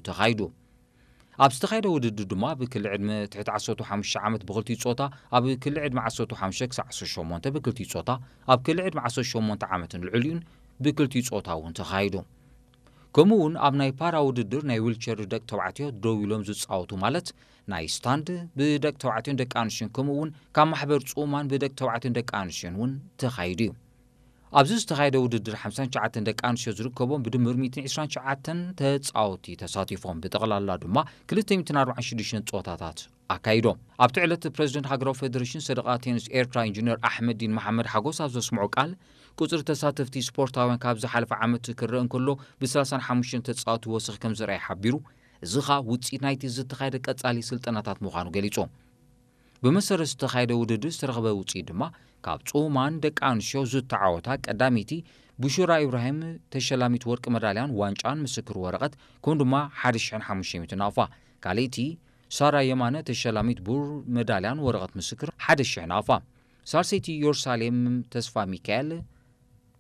ተኻይዱ። ኣብ ዝተኻየደ ውድድር ድማ ብክሊ ዕድመ ትሕቲ ዓሰርተ ሓሙሽተ ዓመት ብክልቲኡ ጾታ፣ ኣብ ክሊ ዕድመ ዓሰርተ ሓሙሽተ ክሳብ ዓሰርተ ሸሞንተ ብክልቲኡ ጾታ፣ ኣብ ክሊ ዕድመ ዓሰርተ ሸሞንተ ዓመትን ልዕሊኡን ብክልቲኡ ጾታ እውን ተኻይዱ። ከምኡ እውን ኣብ ናይ ፓራ ውድድር ናይ ዊልቸር ደቂ ተባዕትዮ ደው ኢሎም ዝጻወቱ ማለት ናይ ስታንድ ብደቂ ተባዕትዮን ደቂ ኣንስትዮን ከምኡ እውን ካብ ማሕበር ጽኡማን ብደቂ ተባዕትዮን ደቂ ኣንስትዮን እውን ተኻይዱ እዩ። ኣብዚ ዝተኻየደ ውድድር ሓምሳን ትሽዓተን ደቂ ኣንስትዮ ዝርከቦም ብድምር ሚእትን ዕስራን ትሽዓተን ተጻወቲ ተሳቲፎም ብጠቕላላ ድማ ክልተ ሚእትን ኣርባዓን ሽዱሽተን ጸወታታት ኣካይዶም። ኣብቲ ዕለት ፕረዚደንት ሃገራዊ ፌደሬሽን ሰደቓ ቴኒስ ኤርትራ ኢንጂነር ኣሕመዲን መሓመድ ሓጎስ ኣብ ዘስምዖ ቃል ቁጽሪ ተሳተፍቲ ስፖርታውያን ካብ ዝሓለፈ ዓመት ክረአ እንከሎ ብ ሰላሳን ሓሙሽተን ተጻወቲ ወሰኽ ከም ዝረኣየ ሓቢሩ፣ እዚ ኸኣ ውጽኢት ናይቲ ዝተኻየደ ቀጻሊ ስልጠናታት ምዃኑ ገሊጹ። ብመሰረት ዝተኻየደ ውድድር ዝተረኽበ ውጽኢት ድማ ካብ ጽኡማን ደቂ ኣንስትዮ ዝተዓወታ ቀዳመይቲ ብሹራ ኢብራሂም ተሸላሚት ወርቂ መዳልያን ዋንጫን ምስክር ወረቐት ከምኡ ድማ ሓደ ሽሕን ሓሙሽተ ሚእትን ናቕፋ፣ ካልኣይቲ ሳራ የማነ ተሸላሚት ብሩር መዳልያን ወረቐት ምስክር ሓደ ሽሕ ናቕፋ፣ ሳልሰይቲ ዮርሳሌም ተስፋ ሚካኤል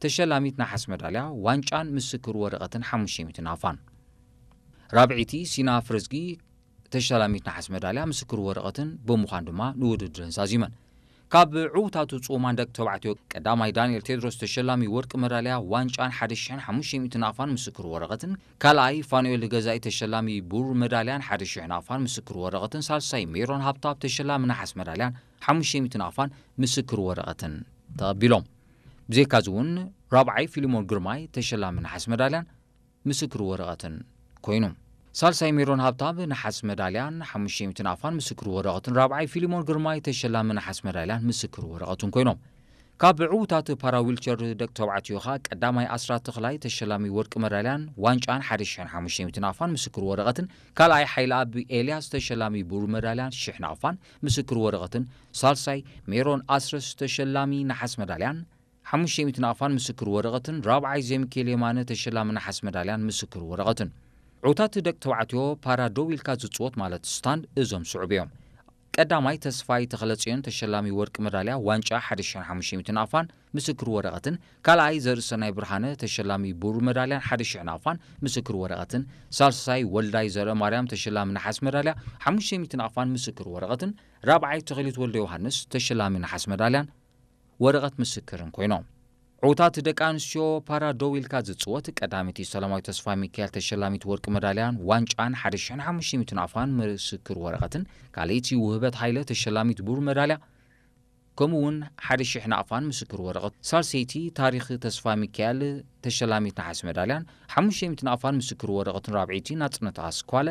ተሸላሚት ነሓስ መዳልያ ዋንጫን ምስክር ወረቐትን ሓሙሽተ ሚእቲ ናቕፋን፣ ራብዒይቲ ሲና ፍረዝጊ ተሸላሚት ነሓስ መዳልያ ምስክር ወረቐትን ብምዃን ድማ ንውድድረን ዛዚመን። ካብ ዕዉታቱ ጽኡማን ደቂ ተባዕትዮ ቀዳማይ ዳንኤል ቴድሮስ ተሸላሚ ወርቂ መዳልያ ዋንጫን ሓደ ሽሕን ሓሙሽተ ሚእቲ ናቕፋን ምስክር ወረቐትን፣ ካልኣይ ፋኑኤል ገዛኢ ተሸላሚ ብሩር መዳልያን ሓደ ሽሕ ናቕፋን ምስክር ወረቐትን፣ ሳልሳይ ሜሮን ሃብታብ ተሸላሚ ነሓስ መዳልያን ሓሙሽተ ሚእቲ ናቕፋን ምስክር ወረቐትን ተቐቢሎም። ብዘይካዚ እውን ራብዓይ ፊሊሞን ግርማይ ተሸላሚ ነሓስ መዳልያን ምስክር ወረቐትን ኮይኑ። ሳልሳይ ሜሮን ሃብታብ ነሓስ መዳልያን ሓሙሽተ ሚእቲ ናቕፋን ምስክር ወረቐትን፣ ራብዓይ ፊሊሞን ግርማይ ተሸላሚ ነሓስ መዳልያን ምስክር ወረቐትን ኮይኖም። ካብ ዕዉታት ፓራ ዊልቸር ደቂ ተባዕትዮ ኸኣ ቀዳማይ ኣስራት ተኽላይ ተሸላሚ ወርቂ መዳልያን ዋንጫን ሓደ ሽሕን ሓሙሽተ ሚእቲ ናቕፋን ምስክር ወረቐትን፣ ካልኣይ ሓይለኣብ ኤልያስ ተሸላሚ ብሩር መዳልያን ሽሕ ናቕፋን ምስክር ወረቐትን፣ ሳልሳይ ሜሮን ኣስረስ ተሸላሚ ነሓስ መዳልያን ሓሙሽተ ሚእቲ ናቕፋን ምስክር ወረቐትን፣ ራብዓይ ዘሚካኤል የማነ ተሸላሚ ነሓስ መዳልያን ምስክር ወረቐትን። ዕዉታት ደቂ ተባዕትዮ ፓራ ደው ኢልካ ዝጽወት ማለት ስታንድ እዞም ስዑብ እዮም። ቀዳማይ ተስፋይ ተኽለጽዮን ተሸላሚ ወርቂ መዳልያ ዋንጫ ሓደ ሽሕን ሓሙሽተ ሚእቲ ናቕፋን ምስክር ወረቐትን፣ ካልኣይ ዘርእሰናይ ብርሃነ ተሸላሚ ብሩር መዳልያን ሓደ ሽሕ ናቕፋን ምስክር ወረቐትን፣ ሳልሳይ ወልዳይ ዘርአማርያም ተሸላሚ ነሓስ መዳልያ ሓሙሽተ ሚእቲ ናቕፋን ምስክር ወረቐትን፣ ራብዓይ ተኽሊት ወልደ ዮሃንስ ተሸላሚ ነሓስ መዳልያን ወረቐት ምስክርን ኮይኖም። ዕዉታት ደቂ ኣንስትዮ ፓራ ደው ኢልካ ዝጽወት ቀዳመይቲ ሰላማዊት ተስፋ ሚካኤል ተሸላሚት ወርቂ መዳልያን ዋንጫን ሓደ ሽሕን ሓሙሽተ ሚእትን ኣፋን ምስክር ወረቐትን፣ ካልኣይቲ ውህበት ሃይለ ተሸላሚት ብሩር መዳልያ ከምኡ እውን ሓደ ሽሕ ናቕፋን ምስክር ወረቐት፣ ሳልሰይቲ ታሪኽ ተስፋ ሚካኤል ተሸላሚት ነሓስ መዳልያን ሓሙሽተ ሚእቲ ናቕፋን ምስክር ወረቐትን፣ ራብዐይቲ ናጽነት ኣስኳለ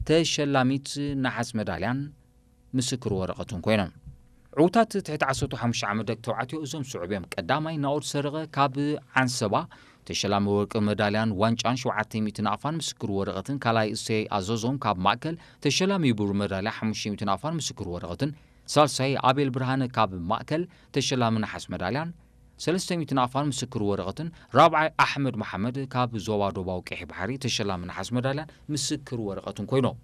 ተሸላሚት ነሓስ መዳልያን ምስክር ወረቐትን ኮይኖም። ዕዉታት ትሕቲ ዓሰርተ ሓሙሽተ ዓመት ደቂ ተባዕትዮ እዞም ስዑብ እዮም። ቀዳማይ ናኦድ ሰረቐ ካብ ዓንሰባ ተሸላሚ ወርቂ መዳልያን ዋንጫን ሸውዓተ ሚእቲ ናቕፋን ምስክር ወረቐትን፣ ካልኣይ እሰይ ኣዘዞም ካብ ማእከል ተሸላሚ ብሩር መዳልያ ሓሙሽተ ሚእቲ ናቕፋን ምስክር ወረቐትን፣ ሳልሳይ ኣቤል ብርሃነ ካብ ማእከል ተሸላሚ ነሓስ መዳልያን ሰለስተ ሚእቲ ናቕፋን ምስክር ወረቐትን፣ ራብዓይ ኣሕመድ መሓመድ ካብ ዞባ ዶባዊ ቀይሕ ባሕሪ ተሸላሚ ነሓስ መዳልያን ምስክር ወረቐትን ኮይኖም።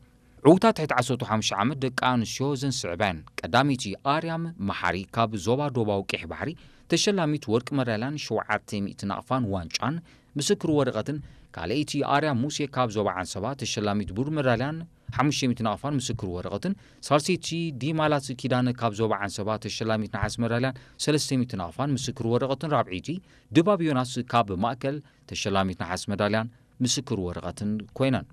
ዕዉታት ትሕቲ ዓሰርተ ሓሙሽተ ዓመት ደቂ ኣንስትዮ ዘን ስዕበን። ቀዳመይቲ ኣርያም መሓሪ ካብ ዞባ ዶባዊ ቀይሕ ባሕሪ ተሸላሚት ወርቂ መዳልያን ሸውዓተ ሚእቲ ናቕፋን ዋንጫን ምስክር ወረቐትን፣ ካልኣይቲ ኣርያም ሙሴ ካብ ዞባ ዓንሰባ ተሸላሚት ብሩር መዳልያን ሓሙሽተ ሚእቲ ናቕፋን ምስክር ወረቐትን፣ ሳልሰይቲ ዲማላት ኪዳነ ካብ ዞባ ዓንሰባ ተሸላሚት ነሓስ መዳልያን ሰለስተ ሚእቲ ናቕፋን ምስክር ወረቐትን፣ ራብዐይቲ ድባብ ዮናስ ካብ ማእከል ተሸላሚት ነሓስ መዳልያን ምስክር ወረቐትን ኮይነን።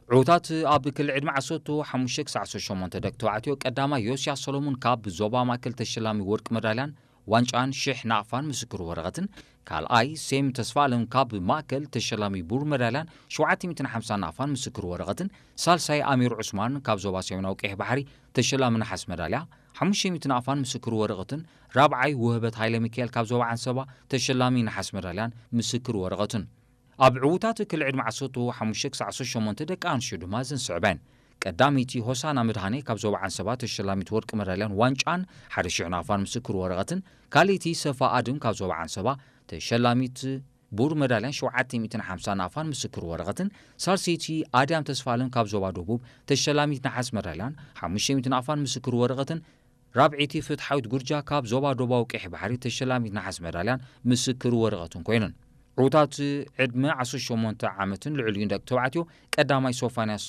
ዕዉታት ኣብ ክሊ ዕድመ ዓሰርተ ሓሙሽተ ክሳዕ ዓሰርተ ሸሞንተ ደቂ ተባዕትዮ ቀዳማይ ዮስያስ ሰሎሙን ካብ ዞባ ማእከል ተሸላሚ ወርቂ መዳልያን ዋንጫን ሽሕ ናቕፋን ምስክር ወረቐትን፣ ካልኣይ ሴም ተስፋኣለም ካብ ማእከል ተሸላሚ ብሩር መዳልያን ሸውዓተ ሚእትን ሓምሳን ናቕፋን ምስክር ወረቐትን፣ ሳልሳይ ኣሚር ዑስማን ካብ ዞባ ሰሜናዊ ቀይሕ ባሕሪ ተሸላሚ ነሓስ መዳልያ ሓሙሽተ ሚእቲ ናቕፋን ምስክር ወረቐትን፣ ራብዓይ ውህበት ሃይለ ሚካኤል ካብ ዞባ ዓንሰባ ተሸላሚ ነሓስ መዳልያን ምስክር ወረቐትን። ኣብ ዕዉታት ክሊ ዕድመ ዓሰርተ ሓሙሽተ ክሳዕ ዓሰርተ ሸሞንተ ደቂ ኣንስትዮ ድማ እዘን ስዕበን። ቀዳመይቲ ሆሳና መድሃኔ ካብ ዞባ ዓንሰባ ተሸላሚት ወርቂ መዳልያን ዋንጫን ሓደ ሽሕ ናቕፋን ምስክር ወረቐትን፣ ካልኣይቲ ሰፋ ኣድም ካብ ዞባ ዓንሰባ ተሸላሚት ብሩር መዳልያን ሸውዓተ ሚእትን ሓምሳን ናቕፋን ምስክር ወረቐትን፣ ሳልሰይቲ ኣድያም ተስፋለም ካብ ዞባ ደቡብ ተሸላሚት ነሓስ መዳልያን ሓሙሽተ ሚእቲ ናቕፋን ምስክር ወረቐትን፣ ራብዐይቲ ፍትሓዊት ጉርጃ ካብ ዞባ ደቡባዊ ቀይሕ ባሕሪ ተሸላሚት ነሓስ መዳልያን ምስክር ወረቐትን ኮይነን። ዕዉታት ዕድመ ዓሰርተ ሸሞንተ ዓመትን ልዕሊኡን ደቂ ተባዕትዮ ቀዳማይ ሶፋንያስ